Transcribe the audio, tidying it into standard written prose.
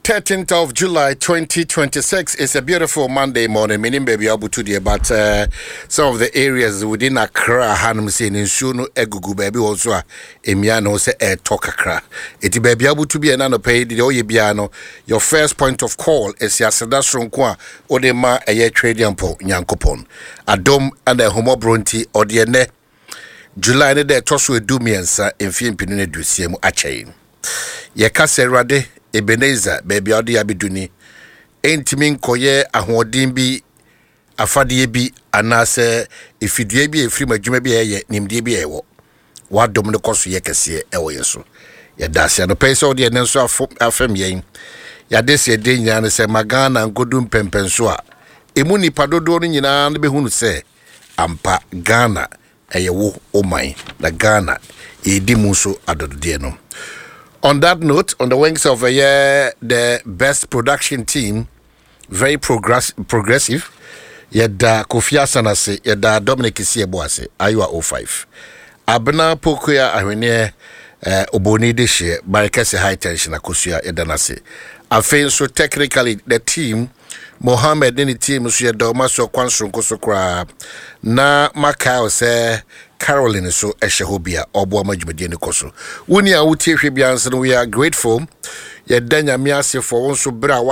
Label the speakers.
Speaker 1: 13th of July 2026 is a beautiful Monday morning. Meaning, baby, abutu deɛ, but some of the areas within Accra, hanom sɛ nsuo no egugu baabi wɔ so a emia no sɛ ɛɛtɔ kakra. Eti baabi abutu bi ɛna nɔpɛ yi deɛ ɔyɛ biara no, your first point of call is aseda soronko a ɔde ma ɛyɛ Tweduampɔn Nyankopɔn. Adom ɛna ɛhomɔborɔ nti ɔde ɛnɛ July ne dɛ ɛtɔ so 13 mfeɛ 2020 mu akyɛ yi. Yɛka sɛ Awurade Ebenezer, baabi a ɔde abɛdu ni, ɛntumi nkɔyɛ ahoɔden bi, afadeɛ bi, anaasɛ efidie bi a ɛfiri mu, adwuma bi a ɛyɛ, nimdeɛ bi a ɛwɔ wadom no kɔ so yɛ kɛseɛ ɛwɔ yɛn so. Yɛda ase anɔpɛ yi sɛ wode ɛnɛ nso afɛm yɛn. Yɛade sɛ yɛde nyinaa no sɛ ma Ghana nkɔdu mpɛmpɛn so a ɛmu nipa dodoɔ no nyinaa no bɛhunu sɛ ampa Ghana ɛyɛ wo ɔman na Ghana yɛdi mu nso adɔdodeɛ no. On that note, on the wings of the best production team, very progressive, yɛda Kofi Asan ase, yɛda Dominic Siebo ase, Ayiwa 05, Abena Pokuya Ahweneɛ, Oboni de hyeɛ Barikɛse High Tension Akosua, yɛda no ase. Afei nso technically the team, Mohammed ne ne team nso, yɛda ɔma so kwan soronko so koraa. Na makae sɛ Caroline nso ɛhyɛ hɔ bi a ɔboa ma dwumadie no kɔ so. Wo ni a wotie hwɛ biara nso no, we are grateful. Yɛda Nyame ase for wo nso berɛ a